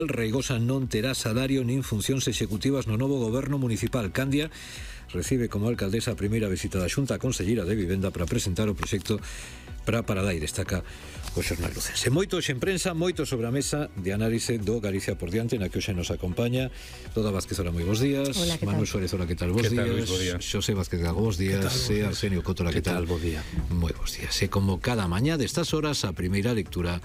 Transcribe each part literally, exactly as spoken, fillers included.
Reigosa non terá salario nin funcións executivas no novo goberno municipal. Candia recibe como alcaldesa a primeira visita da Xunta Conselleira de Vivenda para presentar o proxecto para Paradai, destaca o xornal lucense. Moito en prensa, moito sobre a mesa de análise do Galicia por diante, na que hoxe nos acompaña Toda Vázquez, hola, moi bons días. Hola, Manuel Suárez, hola, que tal, bons días. Luis, bo día. Xosé Vázquez Gago, bons días. E Arsenio Cotola, que tal, bo día. moi bons días. E como cada mañá destas horas, a primeira lectura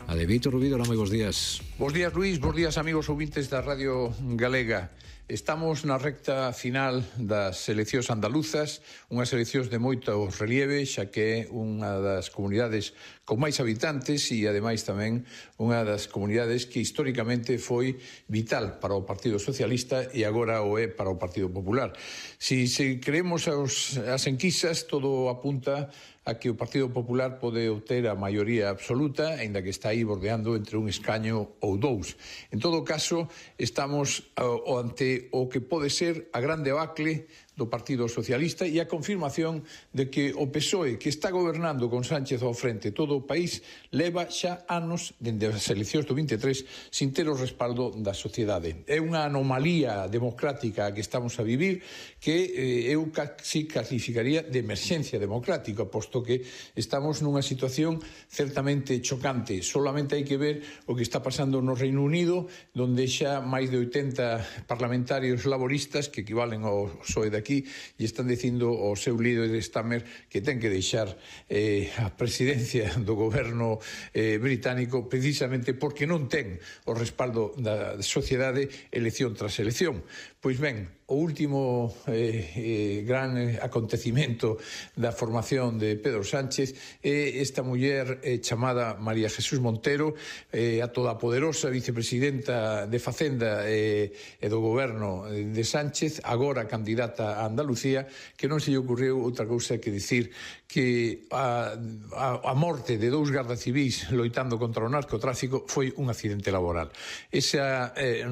a de Vítor Rubido. Hola, moi bons días. Bos días, Luis, bos días, amigos ouvintes da Radio Galega. Estamos na recta final das eleccións andaluzas, unhas eleccións de moito relieve, xa que é unha das comunidades con máis habitantes e, ademais, tamén unha das comunidades que históricamente foi vital para o Partido Socialista e agora o é para o Partido Popular. Si, se creemos aos, as enquisas, todo apunta a que o Partido Popular pode obter a maioría absoluta, aínda que está aí bordeando entre un escaño ou dous. En todo caso, estamos uh, ante o que pode ser a gran debacle do Partido Socialista e a confirmación de que o P S O E, que está gobernando con Sánchez ao frente todo o país, leva xa anos dende as eleccións do vinte e tres sin ter o respaldo da sociedade. É unha anomalía democrática a que estamos a vivir que eh, eu casi calificaría de emerxencia democrática, posto que estamos nunha situación certamente chocante. Solamente hai que ver o que está pasando no Reino Unido, donde xa máis de oitenta parlamentarios laboristas, que equivalen ao P S O E daqui, e están dicindo ao seu líder Stammer que ten que deixar eh, a presidencia do goberno eh, británico precisamente porque non ten o respaldo da sociedade elección tras elección. Pois ben, o último eh, eh, gran acontecimento da formación de Pedro Sánchez é esta muller eh, chamada María Jesús Montero, eh, a toda poderosa vicepresidenta de Facenda eh, e do goberno de Sánchez, agora candidata a Andalucía, que non se lle ocurriu outra cousa que dicir que a, a, a morte de dous gardas civis loitando contra o narcotráfico foi un accidente laboral. Esa eh,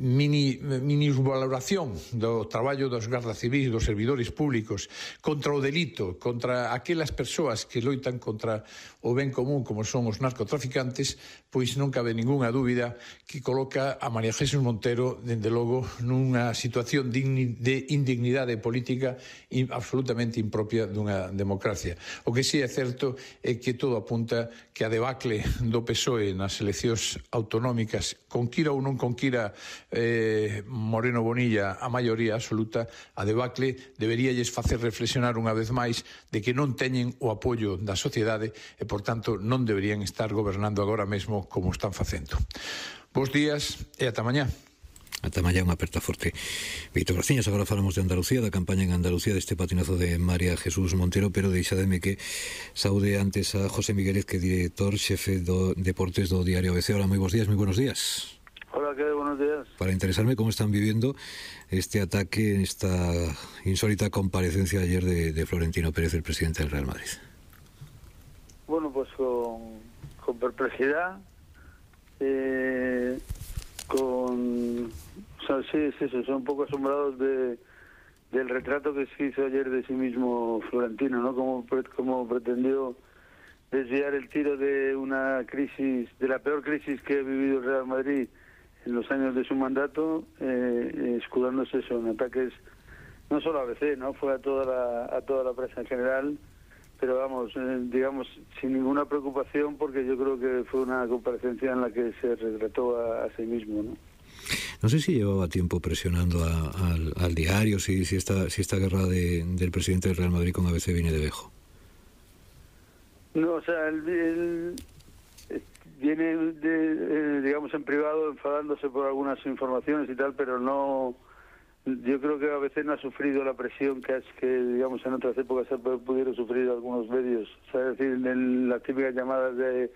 mini, mini valoración do traballo dos gardas civis, dos servidores públicos contra o delito, contra aquelas persoas que loitan contra o ben común como son os narcotraficantes, pois non cabe ningunha dúbida que coloca a María Jesús Montero, dende logo, nunha situación de indignidade política absolutamente impropia dunha democracia. O que si é certo é que todo apunta que a debacle do P S O E nas eleccións autonómicas, conquira ou non conquira eh, Moreno Bonilla a maioría absoluta, a debacle deberíalles facer reflexionar unha vez máis de que non teñen o apoio da sociedade e, por tanto, non deberían estar gobernando agora mesmo como están facendo. Bos días e ata mañá. Ata mañá, unha aperta forte. Vítor Barciñas, agora falamos de Andalucía, da campaña en Andalucía deste patinazo de María Jesús Montero, pero deixademe que saúde antes a José Miguelez, que é director xefe do Deportes do Diario A B C. Hola, moi bons días, moi buenos días. Hola, ¿qué? Buenos días. Para interesarme cómo están viviendo este ataque, esta insólita comparecencia ayer de, de Florentino Pérez, el presidente del Real Madrid. Bueno, pues con, con perplejidad, eh, con... O sea, sí, sí, sí, son un poco asombrados de, del retrato que se hizo ayer de sí mismo Florentino, ¿no? Como, como pretendió desviar el tiro de una crisis, de la peor crisis que ha vivido el Real Madrid en los años de su mandato, eh, escudándose eso en ataques, no solo a B C, ¿no? Fue a toda la, a toda la prensa en general, pero vamos, eh, digamos, sin ninguna preocupación, porque yo creo que fue una comparecencia en la que se retrató a, a sí mismo, ¿no? No sé si llevaba tiempo presionando a, a, al, al diario, si, si, esta, si esta guerra de, del presidente del Real Madrid con A B C viene de viejo. No, o sea, el, el, viene, de, eh, digamos, en privado, enfadándose por algunas informaciones y tal, pero no... Yo creo que A B C no ha sufrido la presión que, es, que digamos, en otras épocas pudieron sufrir algunos medios. O sea, es decir, en las típicas llamadas de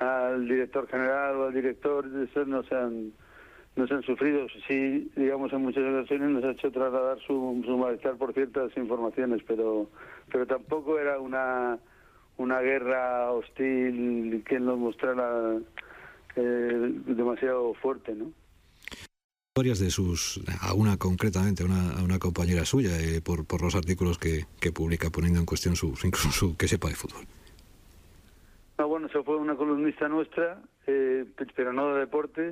al director general o al director, eso no se han... no se han sufrido. Sí, digamos, en muchas ocasiones nos ha hecho trasladar su, su malestar por ciertas informaciones, pero pero tampoco era una una guerra hostil que nos mostrara eh, demasiado fuerte, ¿no? Varias de sus, a una concretamente, a una, a una compañera suya, eh, por, por los artículos que, que publica poniendo en cuestión su, incluso su que sepa de fútbol. No, bueno, bueno, eso fue una columnista nuestra, eh, pero no de deportes,